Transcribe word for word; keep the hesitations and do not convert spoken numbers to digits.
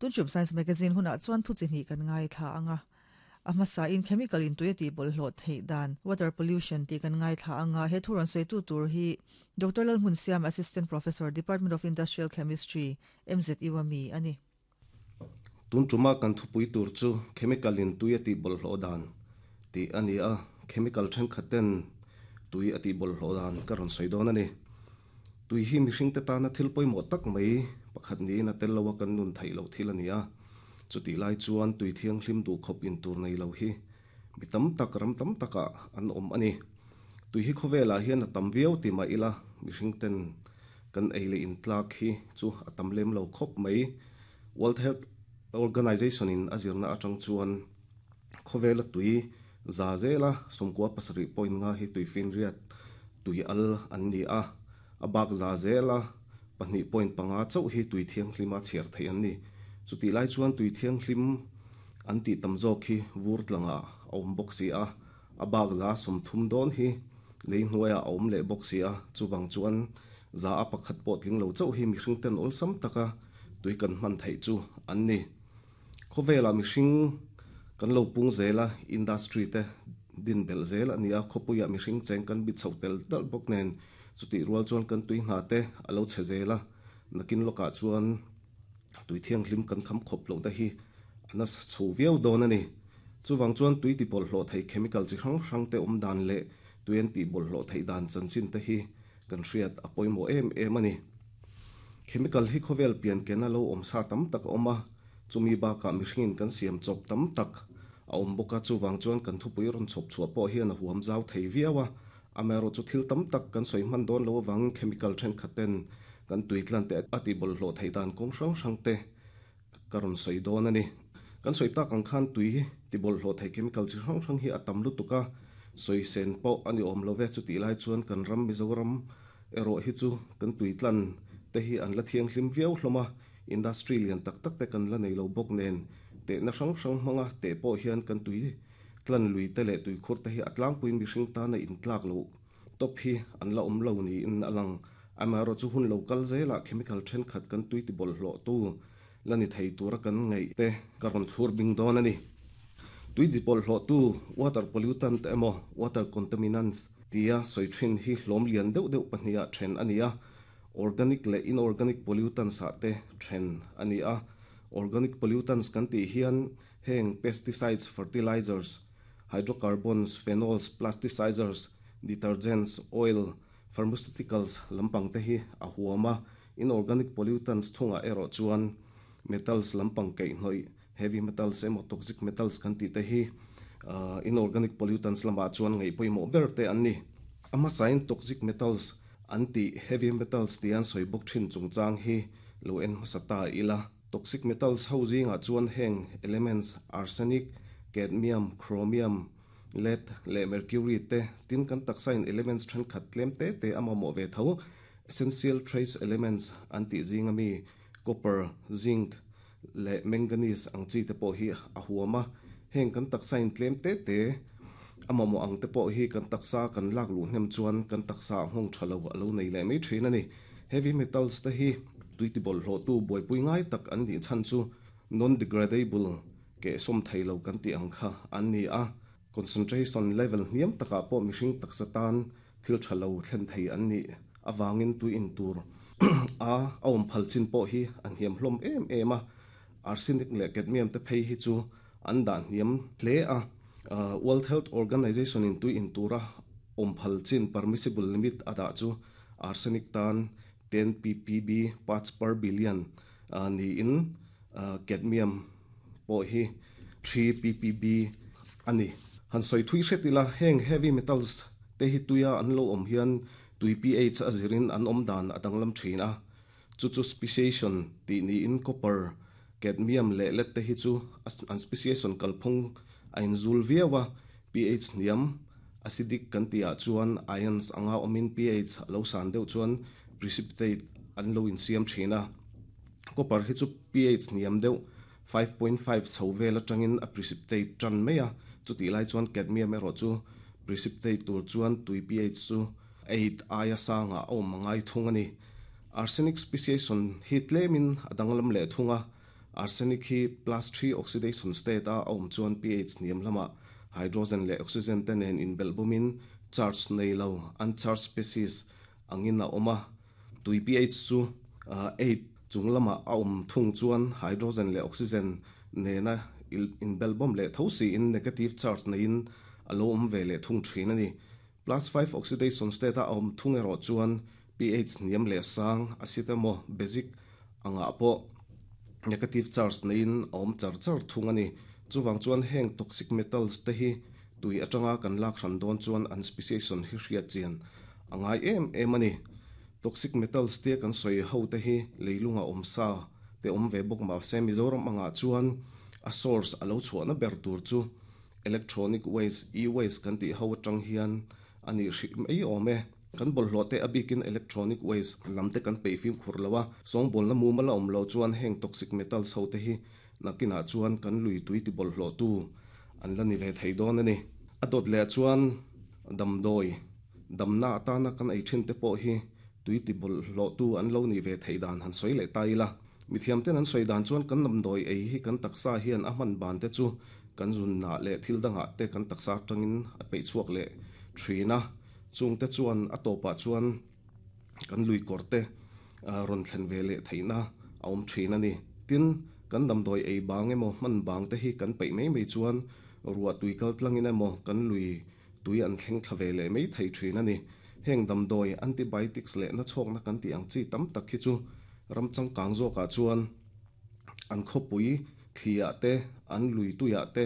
Tun Science Magazine huna chuan thu chi hnih kan ngaithla anga. A hmasa in chemical in tui ti bawlhhlawh theih dan water pollution ti kan ngaithla anga he thuron sei tu tur hi Doctor Lalhmunsiama Assistant Professor Department of Industrial Chemistry M Z U ami ani. Tun tuma kan thupui tur chu chemical in tui ati bawlhhlawh dan ti ani a. Chemical thenkhatten tui ati bawlhhlawh dan ka rawn sawi dawn ani. Tui hi mihring te tana thil pawimawh tak mai pakhat niin a tel loa kan nun theih loh thil ani a. Chuti lai chuan tui thianghlim duh khawp in tur nei lo hi mi tam tak ram tam takah an awm ani. Tui hi khawvelah hian a tam viau ti mah ila mihring ten kan ei leh in tlak hi chu a tam lem lo khawp mai. World Health Organization in a zirna atang chuan khawvela tui za zela sawmkua pasarih point nga hi tui finriat tui al an ni a. A bak za zela pahnih point panga chauh hi tui thianghlima chhiar theih an ni. Chuti lai chuan tui thianghlim an tih tam zawk hi vur tlanga a awm bawk si a. A bak za sawmthum dawn hi lei hnuaiah a awm leh bawk si a. Chuwang chuan za a pakhat pawh tling lo chauh hi mihring ten awlsam taka tui kan hman theih chu an ni. Khawvela mihring kan lo pung zela industry te din bel zel ani a. Khawpuia mihring cheng kan bi chho tel tal bawk nen chuti rual chuan kan tui hna te alo che zela. Nakin lokah chuan tui thianghlim kan kham khawp lo te hi ana chho viau dawn ani. Chuwang chuan tui ti bawlhhlawh thei chemical chi hrang hrang te awm dan leh tui an ti bawlhhlawh theih dan chanchin te hi kan hriat a pawimawh em em ani. Chemical hi khawvel pian kena lo awm sa tam tak a awm a. Chumi bakah mihringin kan siam chawp tam tak a awm bawk a. Chuwang chuan kan thupui rawn chhawp chhuah pawh hian a huam zau thei viau a. Amaherawh chu thil tam tak kan sawi hman dawn lo awangin chemical thenkhatten kan tui tlan te a ti bawlhhlawh theih dan kawng hrang hrang te ka rawn sawi dawn ani. Kan sawi tak ang khan tui ti bawlhhlawh thei chemical chi hrang hrang hi a tam lutuk a. Sawi sen pawh ani awm lo ve. Chuti lai chuan kan ram Mizoram erawh hi chu kan tui tlan te hi an la thianghlim viau hlawm a. Industry lian tak tak te kan la nei lo bawk nen tehna hrang hrang hmanga te pawh hian kan tui tlan lui te leh tui khur te hi a tlangpuiin mihring tana in tlak lo top hi an la awm lo niin a lang. Amaherawh chu hun lo kal zelah chemical thenkhat kan tui ti bawlhhlawh tu la ni thei tura kan ngaih te ka rawn thlur bing dawn ani. Tui ti bawlhhlawh tu water pollutant emaw water contaminants tia sawi thin hi hlawm lian deuh deuh pahnih ah then ani a. Organic leh inorganic pollutants ah te then ani a. Organic pollutants kan tih hian heng pesticides, fertilizers, hydrocarbons, phenols, plasticizers, detergents, oil, pharmaceuticals lampang te hi a huam a. Inorganic pollutants thunga erawh chuan metals lampang kaihhnawih heavy metals emaw toxic metals kan tih te hi inorganic pollutants lamah chuan ngaih pawimawh ber te an ni. A hmasain toxic metals an tih heavy metals ti an sawi bawk thin chungchang hi lo en hmasa ta ila. Toxic metals ho zingah chuan heng elements arsenic, cadmium, chromium, lead leh mercury te tin kan taksa in elements thenkhat tlem te te a mamawh ve tho essential trace elements an tih zinga mi copper, zinc leh manganese ang chi te pawh hi a huam a. Heng kan taksa in tlem te te a mamawh ang te pawh hi kan taksa kan lak luh hnem chuan kan taksa nghawng tha lo alo nei leh mai thin ani. Heavy metals te hi tui ti bawlhhlawh tu buaipui ngai tak an nih chhan chu non degradable ke sawm thei lo kan tih ang kha an ni a. Concentration level hniam takah pawh mihring taksa tan thil tha lo thlen thei an ni awangin tui in tur a a awm phal chin pawh hi a hniam hlawm em em a. Arsenic leh cadmium te phei hi chu an dah hniam hle a. World Health Organization in tui in tura awm phal chin permissible limit a dah chu arsenic tan ten P P B, parts per billion niin cadmium pawh hi three P P B ani. Han sawi thui hret ila. Heng heavy metals te hi tuia an lo awm hian tui P H a zirin an awm dan a danglam thin a. Chu chu speciation tih niin copper, cadmium leh lead te hi chu an speciation kalphung a inzul viau a. P H hniam acidic kan tih ah chuan ions anga awmin P H lo san deuh chuan precipitate an lo insiam thin a. Copper hi chu P H hniam deuh five point five chho vel atangin a precipitate tan mai a. Chuti lai chuan cadmium erawh chu precipitate tur chuan tui P H chu eight aia sanga a awm angai thung ani. Arsenic speciation hi tlemin a danglam leh thunga. Arsenic hi plus three oxidation state a awm chuan pH hniam lamah hydrogen leh oxygen te nen inbelhbawmin charge nei lo uncharged species angin a awm a. Tui pH chu eight chung lamah a awm thung chuan hydrogen leh oxygen nena inbelhbawm leh tho siin negative charge neiin a lo awm ve leh thung thin a ni. Plus five oxidation state a awm thung erawh chuan pH hniam leh sang acid emaw basic angah pawh negative charge neiin a awm char char thung a ni. Chuvang chuan heng toxic metals te hi tui atanga kan lak hran dawn chuan an speciation hi hriat chian a ngai em em a ni. Toxic metals te kan sawi ho te hi leilunga awm sa te awm ve bawk mahse Mizoram angah chuan a source a lo chhuahna ber tur chu electronic waste e-waste kan tih ho atang hian ani hrih mai awm e. Kan bawlhhlawh te a bikin electronic waste lam te kan peih fim khur lo a, sawngbawlna mumal a awm lo chuan heng toxic metals ho te hi nakinah chuan kan lui tui ti bawlhhlawh tu an la ni ve thei dawn a ni. A dawt leh chuan damdawi damna atana kan ei thin te pawh hi tui ti bawlhhlawh tu an lo ni ve thei dan han sawi leh ta ila. Mithiam ten an sawi dan chuan kan damdawi ei hi kan taksa hian a hman ban te chu kan zunna leh thil dangah te kan taksa atangin a peih chhuak leh thin a. Chung te chuan a tawpah chuan kan lui kawr te rawn thlen ve leh theihna a awm thin a ni. Tin, kan damdawi ei bang emaw hman bang te hi kan peih mai mai chuan ruah tui kal tlangin emaw kan lui tui an thleng thla ve leh mai thei thin a ni. Heng damdawi antibiotics leh na chhawkna kan tih ang chi tam tak hi chu ram changkang zawkah chuan an khawpui thliah te an lui tuiah te